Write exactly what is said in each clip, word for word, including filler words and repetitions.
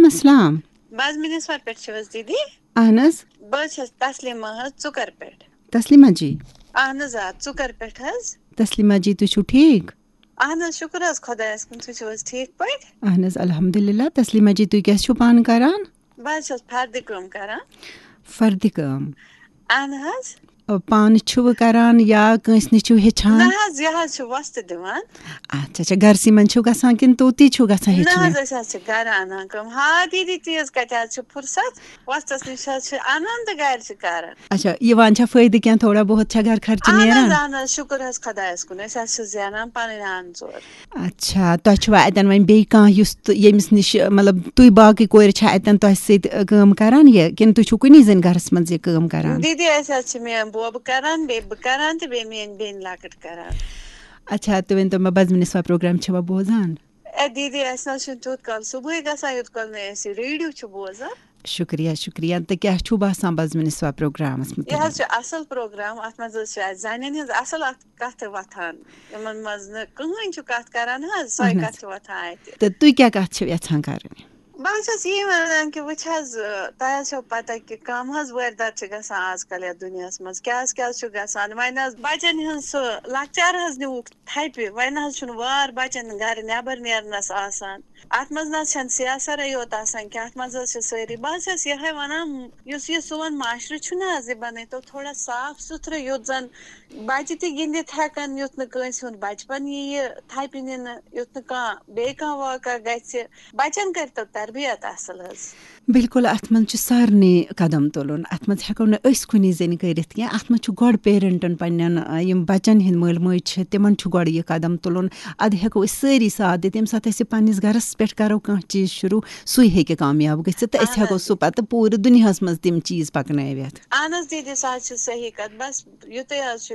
السلام۔ بہٕ حظ مِنِسوار پٮ۪ٹھ چھِو حظ دیٖدی؟ اہن حظ۔ بہٕ حظ چھَس تسلیٖما حظ ژُکر پٮ۪ٹھ۔ تسلیٖما جی۔ اہن حظ، آ، ژُکر پٮ۪ٹھ حظ۔ تسلیٖما جی، تُہۍ چھِو ٹھیٖک؟ اہن حظ، شُکُر حظ خۄدایَس کُن، تُہۍ چھِو حظ ٹھیٖک پٲٹھۍ؟ اہن حظ، الحمدللہ۔ تسلیٖما جی، تُہۍ کیٛاہ چھِو پانہٕ کران؟ بہٕ حظ چھَس فردِ کٲم کران۔ فردِ کٲم۔ اہن حظ۔ پانہٕ چھِوٕ کران یا کٲنٛسہِ نِش چھِو ہیٚچھان؟ نہ حظ، یہِ حظ چھِ وۄستہٕ دِوان۔ اچھا، اچھا، گرسٕے منٛز چھِو گژھان کِنہٕ توتی چھِو گژھان نہ ہیٚچھنہِ؟ حظ، أسۍ حظ چھِ گرٕ اَنان کٲم۔ ہا، دیٖدی، تیٖژ کَتہِ حظ چھِ فرصت؟ وۄستَس نِش حظ چھِ اَنان تہٕ گرِ چھِ کران۔ اچھا، یِوان چھا فٲیدٕ کینٛہہ؟ تھوڑا بہت چھا گرٕ خرچہٕ اہن حظ، نیران؟ اہن حظ، شُکُر حظ خۄدایَس کُن، أسۍ حظ چھِ زینان پَنٕنۍ اَن ژور۔ اچھا، تۄہہِ چھُوا اَتٮ۪ن وۄنۍ بیٚیہِ کانٛہہ یُس تہٕ ییٚمِس نِش، مطلب، تُہۍ باقٕے کورِ چھا اَتٮ۪ن تۄہہِ سۭتۍ، ٲ، کٲم کران یہِ؟ کِنہٕ تُہۍ چھِو کُنی زٔنۍ گرس منٛز یہِ کٲم کران؟ دیٖدی، اَسہِ حظ چھِ میٛٲنۍ بوبہٕ کران، بیٚیہِ بہٕ کران تہٕ بیٚیہِ میٛٲنۍ بیٚنہِ لۄکٕٹ کران۔ اچھا، تُہۍ ؤنۍ تو مےٚ، بزمِ نسوا پروگرام چھِوا بوزان؟ اے دیٖدی، اَسہِ نہ حظ چھُنہٕ تیُتھ کال صُبحٲے گژھان، یوٚت کال نہٕ أسۍ یہِ ریڈیو چھِ بوزان۔ شُکریہ، شُکریہ۔ تہٕ کیٛاہ چھُو باسان بزمِ نسوا پروگرامس یہِ مُتعلق؟ حظ چھُ اَصٕل پروگرام، اَتھ منٛز حظ چھِ اَسہِ زَنٮ۪ن ہٕنٛز اَصٕل اَکھ کَتھٕ وۄتھان۔ یِمَن منٛز نہٕ کٕہٕنۍ چھُ کَتھ کَران حظ، سۄے اہن حظ۔ کَتھ چھِ وۄتھان اَتہِ۔ تہٕ تُہۍ کیٛاہ کَتھ چھِو یَژھان کَرٕنۍ؟ بہٕ حظ چھَس یی وَنان کہِ وٕچھ حظ، ٲ، تۄہہِ حظ چھو پَتہ کہِ کَم حظ وٲرۍ دَتہٕ چھِ گژھان آز کَل یَتھ دُنیاہَس منٛز۔ کیٛاہ حظ، کیٛاہ حظ چھُ گژھان؟ وۄنۍ حظ بَچَن ہٕنٛز سُہ لۄکچار حظ نیوٗکھ تھپہِ۔ وۄنۍ نہ حظ چھُنہٕ وار بچن گرِ نٮ۪بر نیرنس آسان۔ اتھ منٛز نہ حظ چھنہٕ سیاح سرے یوت آسان کینٛہہ، اتھ منٛز حظ چھِ سٲری۔ بہٕ حظ چھس یہے ونان، یُس یہِ سون معاشرٕ چھُنہٕ حظ، یہِ بنٲیتو تھوڑا صاف سُتھرٕ، یُتھ زن بچہِ تہِ گِنٛدِتھ ہٮ۪کن، یُتھ نہٕ کٲنٛسہِ ہُنٛد بچپن ییہِ تھپہِ نِنہٕ، یُتھ نہٕ کانٛہہ بیٚیہِ کانٛہہ واقعہ گژھِ۔ بچن کٔرتو تربیت اصل حظ۔ بِلکُل، اَتھ منٛز چھُ سارنٕے قدم تُلُن۔ اَتھ منٛز ہٮ۪کو نہٕ أسۍ کُنی زٔنۍ کٔرِتھ کینٛہہ۔ اَتھ منٛز چھُ گۄڈٕ پیرنٹن پننٮ۪ن، آ، یِم بچن ہٕنٛدۍ مٲلۍ مٲج چھِ، تِمن چھُ گۄڈٕ یہِ قدم تُلُن۔ اَدٕ ہٮ۪کو أسۍ سٲری ساتھ دِتھ۔ ییٚمہِ ساتہٕ أسۍ یہِ پننِس گرس پٮ۪ٹھ کرو کانٛہہ چیٖز شروٗع، سُے ہیٚکہِ کامیاب گٔژھِتھ تہٕ أسۍ اہن ہٮ۪کو حظ۔ سُہ پتہٕ پوٗرٕ دُنیاہس منٛز تِم چیٖز پکنٲوِتھ۔ اہن حظ دیٖدی، سۄ حظ چھِ صحیح کَتھ۔ بس یُتُے حظ چھُ،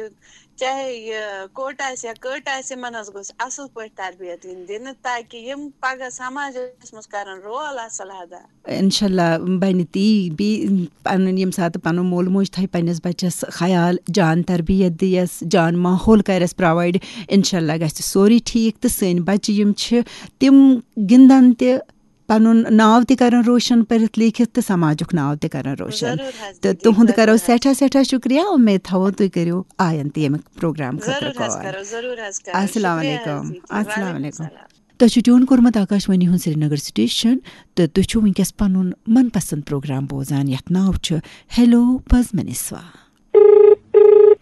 چاہے یہِ کوٚٹ آسہِ یا کٔٹ آسہِ، یِمن حظ گوٚژھ اصل پٲٹھۍ تربیت یِنۍ دِنہٕ، تاکہِ یِم پگاہ سماجس منٛز کرن رول اصل ادا۔ انشاءاللہ بنہِ تی، بیٚیہِ پنُن ییٚمہِ ساتہٕ پنُن مول موج تھایہِ پننِس بچس خیال، جان تربیت دِیس، جان ماحول کرٮ۪س پرووایڈ، انشاءاللہ گژھِ سورُے ٹھیٖک۔ تہٕ سٲنۍ بچہِ یِم چھِ، تِم گِنٛدن تہِ، پنُن ناو تہِ کرن روشن پٔرِتھ لیکھِتھ تہٕ سماجُک ناو تہِ کرن روشن۔ ضروٗر حظ تہٕ دیٖدی، تُہُنٛد ضروٗر کرو حظ۔ سٮ۪ٹھاہ سٮ۪ٹھاہ شُکریہ۔ اُمید تھاوو تُہۍ کٔرِو آینٛدٕ تہِ ییٚمہِ پروگرام خٲطرٕ ضروٗر حظ کال۔ کرو، ضروٗر حظ کرو۔ السلام شُکریہ حظ علیکم۔ دیٖدی۔ السلام وعلیکم علیکم۔ السلام۔ تۄہہِ چھُ ٹیون کوٚرمُت آکاشوانی ہُنٛد سرینگر سٹیشن تہٕ تُہۍ چھِو وٕنکیٚس پنُن من پسند پروگرام بوزان، یتھ ناو چھُ ہیلو بزمِ نسوا۔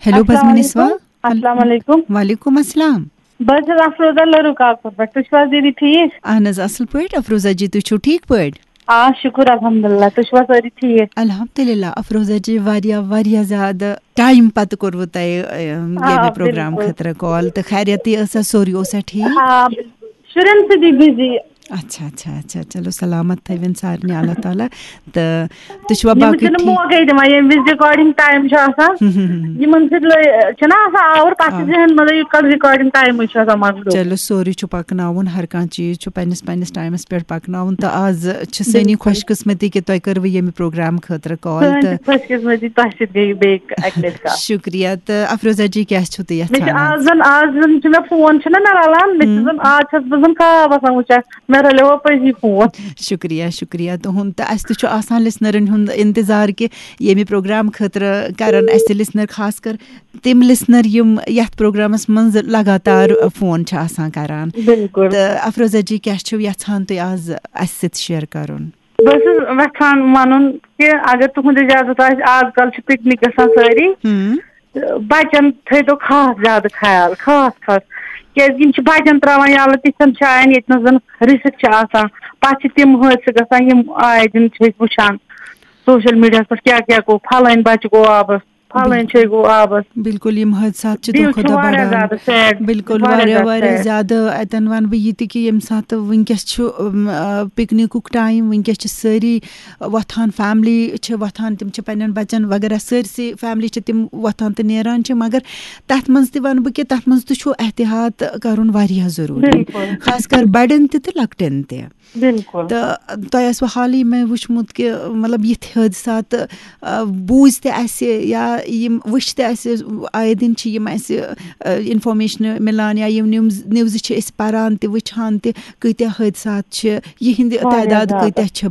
ہیلو السلام بزمِ نسوا۔ علیکم۔ السلام علیکم۔ وعلیکم السلام۔ بہٕ حظ چھَس افروزہ لٔروٗ کاکُر پٮ۪ٹھ۔ تُہۍ چھِو حظ دیٖدی ٹھیٖک؟ اہن حظ، اصل پٲٹھۍ۔ افروزہ جی، تُہۍ چھِو ٹھیٖک پٲٹھۍ؟ آ، شُکُر الحمدللہ۔ تُہۍ چھِوا سٲری ٹھیٖک؟ الحمدللہ۔ افروزہ جی، واریاہ، واریاہ زیادٕ ٹایم پتہٕ کوٚروٕ تۄہہِ، ٲم، آ، ییٚمہِ پروگرام بِلکُل۔ خٲطرٕ کال، تہٕ خیریتٕے ٲسا؟ سورُے اوسا ٹھیٖک؟ آ، بِلکُل۔ شُرٮ۪ن سۭتی بِزی۔ اچھا، اچھا، اچھا، چلو سلامت تھٲوِن سارنٕے اللہ تعالیٰ۔ تہٕ تُہۍ چھِوا یِم باقٕے چھِنہٕ ٹھیٖک؟ موقعے دِوان، ییٚمہِ وِزِ recording time چھُ آسان، ہم، ہم، ہم۔ یِمن سۭتۍ لٔے-، چھُنہ آسان آوُر، پتہٕ آ۔ چھِ ذہن منٛز یہِ کل recording time چھُ آسان مۄکلیومُت۔ چلو، سورُے چھُ پکناوُن، ہر کانٛہہ چیٖز چھُ پننِس، پننِس ٹایمس پٮ۪ٹھ پکناوُن۔ تہٕ آز چھِ سٲنی بِلکُل۔ خۄش قسمتی کہِ تۄہہِ کٔروٕ ییٚمہِ پروگرام خٲطرٕ کال۔ سٲنۍ تہِ تہٕ خۄش قسمتی، تۄہہِ سۭتۍ گٔیہِ بیٚیہِ اکہِ لٹہِ کتھ۔ شُکریہ۔ تہٕ افروزہ جی، کیٛاہ چھِو تُہۍ مےٚ چھِ یژھان آز؟ آز زن، آز زن چھُ مےٚ فون چھُنہ مےٚ رلان، مےٚ چھُ ہم۔ زن آز چھَس بہٕ زن خواب آسان وٕچھان، مےٚ رلیو پٔزی فون۔ شُکریہ، شُکریہ تُہُنٛد۔ تہٕ اَسہِ تہِ چھُ آسان لِسنَرَن ہُنٛد اِنتظار کہِ ییٚمہِ پروگرام خٲطرٕ کَرَن اَسہِ لِسنَر، خاص کر تِم لِسنَر یِم یَتھ پروگرامَس منٛز لگاتار فون چھِ آسان کَران۔ بِلکُل۔ تہٕ افروزہ جی، کیٛاہ چھِو یَژھان تُہۍ آز اَسہِ سۭتۍ شِیَر کَرُن؟ بہٕ ٲسٕس یَژھان وَنُن کہِ اگر تُہُنٛد اِجازت آسہِ، آز کل چھِ پِکنِک گژھان سٲری۔ ہُم۔ تہٕ بَچَن تھٲیتو خاص زیادٕ خیال، خاص خاص، کیٛازِ یِم چھِ بَچَن ترٛاوان یَلہٕ تِژھن جایَن ییٚتہِ نَس زَن risk چھِ آسان۔ پَتہٕ چھِ تِم حٲدثہٕ گژھان، یِم آے دِن چھِ أسۍ وٕچھان social mediaہَس پٮ۪ٹھ، کیٛاہ کیٛاہ گوٚو، پھلٲنۍ بَچہٕ گوٚو آبَس، پھلٲنۍ جایہِ گوٚو آبَس۔ بِلکُل، یِم حٲدثات چھِ دِل دۄہ کھۄتہٕ چھُ دۄہ واریاہ بَڑان۔ زیادٕ sad، بِلکُل، واریاہ واریاہ، زیادٕ واریاہ sad۔ زیادٕ۔ اَتٮ۪ن وَنہٕ بہٕ یہِ تہِ کہِ ییٚمہِ ساتہٕ وٕنکیٚس چھُ، أم، آ، پِکنِکُک time، وٕنکیٚس چھِ سٲری وۄتھان، family چھِ وۄتھان، تِم چھِ پننٮ۪ن بَچَن وغیرہ سٲرسٕے family چھِ تِم وۄتھان تہٕ نیران چھِ، مگر تَتھ منٛز تہِ وَنہٕ بہٕ کہِ تَتھ منٛز تہِ چھُ احتیاط کَرُن واریاہ ضروٗری، بِلکُل۔ خاص کر بَڑٮ۪ن تہِ تہٕ لۄکٹٮ۪ن تہِ۔ بِلکُل۔ تہٕ تۄہہِ آسوٕ حالٕے مےٚ وٕچھمُت کہِ، مطلب، یِتھۍ حٲدثات، آ، بوٗزۍ تہِ اَسہِ یا یِم وٕچھۍ تہِ اَسہِ، آیے دِن چھِ یِم اَسہِ، آ، informationہٕ مِلان یا یِم news، newsہٕ چھِ أسۍ پَران تہِ، وٕچھان تہِ، کۭتیٛاہ حٲدثات چھِ، یِہِنٛدِ واریاہ تعداد زیادٕ۔ کۭتیٛاہ چھِ